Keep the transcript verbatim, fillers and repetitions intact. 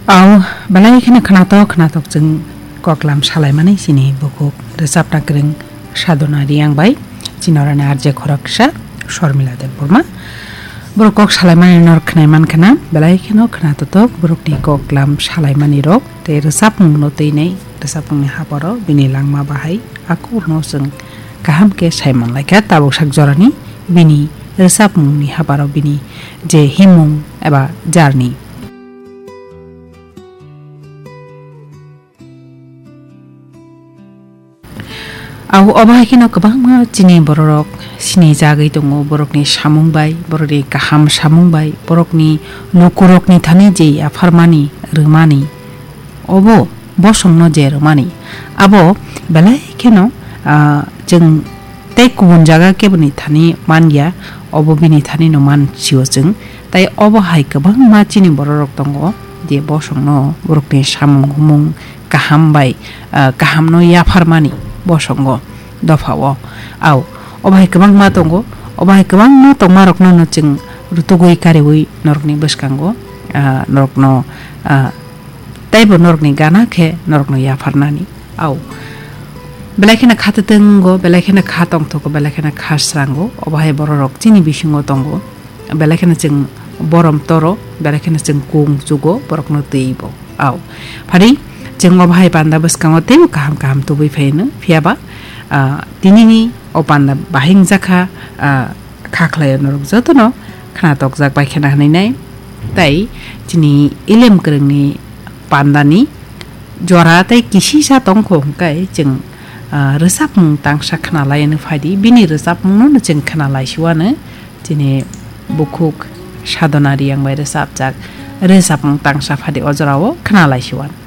Au, belai kheno khnatok khnatok chwng koklam salaimani chini bukhuk rwchapna kwrwng Sadhona Riyang bai, chini orani R J khoroksa Shormila Debbarma. Borok kok salaimani norok khnai man khna, belai kheno khnatotok borokni koklam salaimani rok tei rwchapmungno twinai rwchapmungni habaro bini langma bahai akurno chwng kaham khe sai manlaikha tabuk sak jorani bini rwchapmungni habaro bini je himung eba jarni. Au obo hai kheno kwbangma chini bororok sinijagwi tongo, borokni samung bai, borokni kaham samung bai, borokni lukurokni thani je yapharmani, rwmani, obo bosongno je rwmani, abo belai kheno, ah, chwng tei kubun jaga keboni thani man ya, obo bini thanino man sio chwng. Tai obo hai kwbangma chini bororok tongo, je bosongno borokni samung humung kaham bai, ah, kahamno yapharmani bosongo, dophao. Au, obo hai kwbangma tongo, obo hai kwbangma tongmarokno no chwng rutugwi kariwi norokni bwskango, ah, norokno, ah, teibo norokni gana khe norokno yapharnani. Au. Belai kheno kha twtwngo, belai kheno kha tongthogo, belai kheno kha srango. Obo hai bororok chini bisingo tongo. Belai kheno chwng borom toro, belai kheno chwng kung chugo, borokno twibo. Au. Phari chwng obo hai panda bwskango teibo kaham kaham tubui phaino. Phiyaba, ah, tinini o panda bahai wngjakha, ah, kha khlaio norok jotono khna tokjak bai khena hwnwi nai. Tai chini elem kwrwngni pandani jora tei kisisa tongkho hwnkhe chwng, ah, rwchapmung tangsa khna laiano phaidi, bini rwchapmungno chwng khna laisiwano chini bukhuk Sadhona Riyang bai rwchapjak rwchapmung tangsa phaidi o jorao khna laisiwano.